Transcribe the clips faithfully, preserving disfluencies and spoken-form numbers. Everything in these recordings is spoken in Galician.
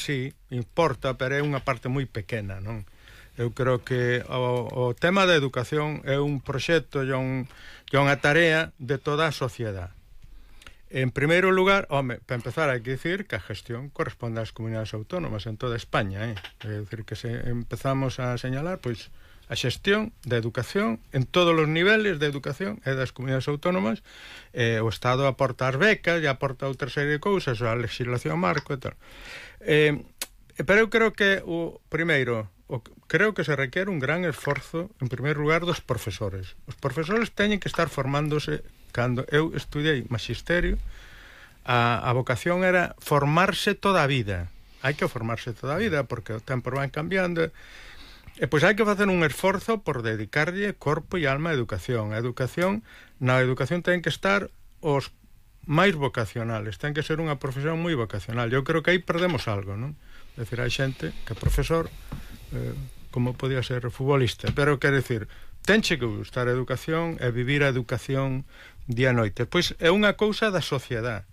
sí, importa, pero é unha parte moi pequena, non? Eu creo que o, o tema da educación é un proxecto e un, unha tarea de toda a sociedade. En primeiro lugar, home, para empezar hai que dicir que a gestión corresponde ás comunidades autónomas en toda España, eh? É dicir, que se empezamos a señalar, pois, a xestión da educación en todos os niveles de educación é das comunidades autónomas, eh, o Estado aporta as becas e aporta outra serie de cousas, a legislación marco e tal. Eh, pero eu creo que o primeiro, o, creo que se requiere un gran esforzo, en primeiro lugar, dos profesores. Os profesores teñen que estar formándose. Cando eu estudiei magisterio, a, a vocación era formarse toda a vida. Hai que formarse toda a vida, porque o tempo van cambiando. E pois hai que facer un esforzo por dedicarlle corpo e alma á educación. A educación, na educación ten que estar os máis vocacionales, ten que ser unha profesión moi vocacional. Eu creo que aí perdemos algo, non? É dicir, hai xente que é profesor, eh, como podía ser futbolista, pero quero dicir, tenche que gustar a educación e vivir a educación día e noite. Pois é unha cousa da sociedade.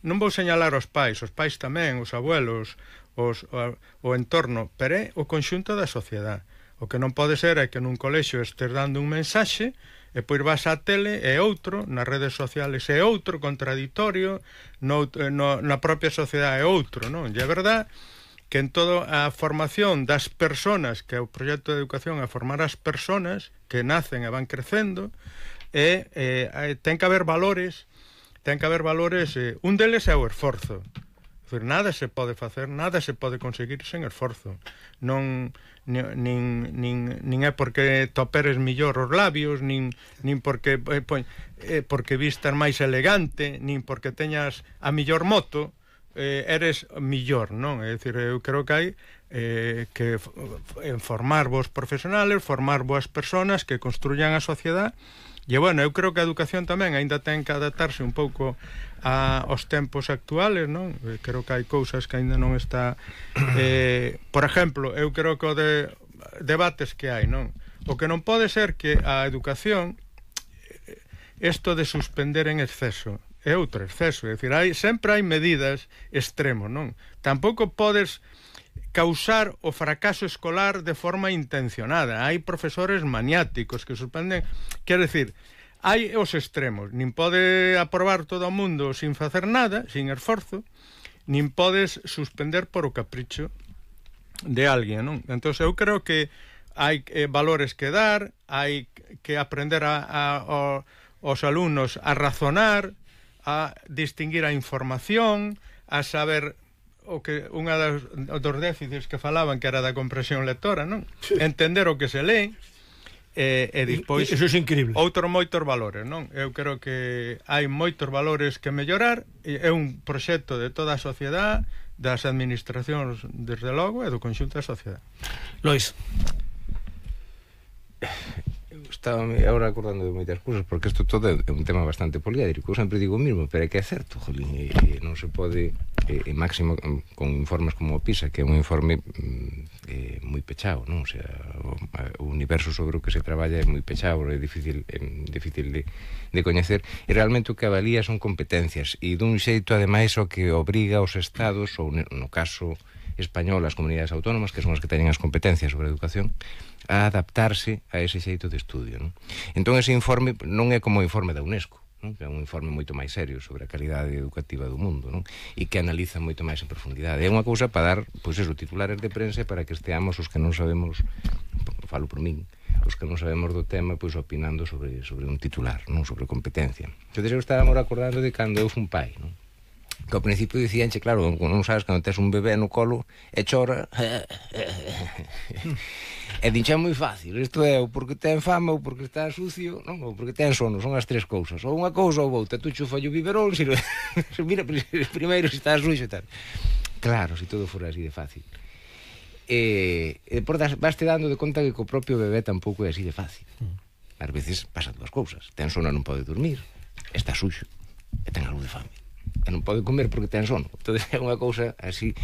Non vou señalar os pais, os pais tamén, os abuelos, os, o, o entorno, pero é o conxunto da sociedade. O que non pode ser é que nun colexio estés dando un mensaxe e pois vas á tele e outro, nas redes sociales é outro, contradictorio, no, no, na propia sociedade é outro, non? E é verdade que en toda a formación das persoas, que é o proxecto de educación a formar as persoas que nacen e van crecendo, e eh, ten que haber valores, ten que haber valores, eh, un deles é o esforzo. É dicir, nada se pode facer, nada se pode conseguir sen esforzo. Non, nin, nin, nin é porque toperes millor os labios, nin, nin porque, eh, eh, porque vistas máis elegante, nin porque teñas a millor moto, eh, eres millor, non? É dicir, eu creo que hai eh, que formar vos profesionales, formar boas persoas que construyan a sociedade. E, bueno, eu creo que a educación tamén ainda ten que adaptarse un pouco a, aos tempos actuales, non? Eu creo que hai cousas que ainda non está... Eh, por exemplo, eu creo que o de debates que hai, non? O que non pode ser que a educación, isto de suspender en exceso, é outro exceso, é dicir, hai, sempre hai medidas extremos, non? Tampouco podes causar o fracaso escolar de forma intencionada. Hai profesores maniáticos que suspenden, quero dicir, hai os extremos, nin pode aprobar todo o mundo sin facer nada, sin esforzo, nin podes suspender por o capricho de alguén, non? Entón, eu creo que hai eh, valores que dar, hai que aprender a, a, a, os alumnos a razonar, a distinguir a información, a saber o que unha dos, dos déficits que falaban, que era da comprensión lectora, non? Sí. Entender o que se lee e, e despois... Eso é increíble. Outros moitos valores, non? Eu creo que hai moitos valores que mellorar, é un proxecto de toda a sociedade, das administracións, desde logo, e do conxunto da sociedade. Lois. Estaba agora acordando de moitas cousas, porque isto todo é un tema bastante poliédrico. Eu sempre digo o mismo, pero é que é certo, jolín, e, e non se pode, e, e máximo con informes como o PISA, que é un informe e, moi pechado, non? O sea, o, o universo sobre o que se traballa é moi pechado, é difícil, é difícil de, de coñecer, e realmente o que avalía son competencias, e dun xeito, ademais, o que obriga aos estados, ou no caso español, as comunidades autónomas, que son as que teñen as competencias sobre a educación, a adaptarse a ese xeito de estudio, non? Entón, ese informe non é como o informe da UNESCO, non? Que é un informe moito máis serio sobre a calidade educativa do mundo, non? E que analiza moito máis en profundidade. É unha cousa para dar, pois eso, titulares de prensa para que esteamos os que non sabemos, falo por min, os que non sabemos do tema, pois opinando sobre, sobre un titular, non? Sobre competencia. Entón, eu estaba agora acordando de cando eu fun pai, non? Que ao principio dicíanche, claro, non sabes, cando tes un bebé no colo e chora e dincha é moi fácil, isto é ou porque ten fama ou porque está sucio, non? Ou porque ten sono, son as tres cousas, ou unha cousa ou outra, tú chufa o biberón, se mira primeiro se está sucio e tal. Claro, se todo fora así de fácil. E, e por das, vaste dando de conta que co propio bebé tampouco é así de fácil. Ás veces pasan dúas cousas, ten sono e non pode dormir, está suxo e ten algo de fame, e non pode comer porque ten sono. Entón é unha cousa así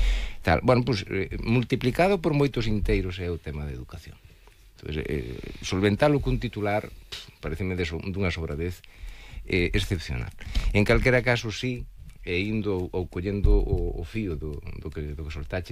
tal. Bueno, pois, pues, eh, multiplicado por moitos inteiros é o tema de educación. Entón, eh, solventalo cun titular pareceme de so, dunha sobradez eh, excepcional. En calquera caso, sí, e indo ou collendo o, o fío do, do, que, do que soltache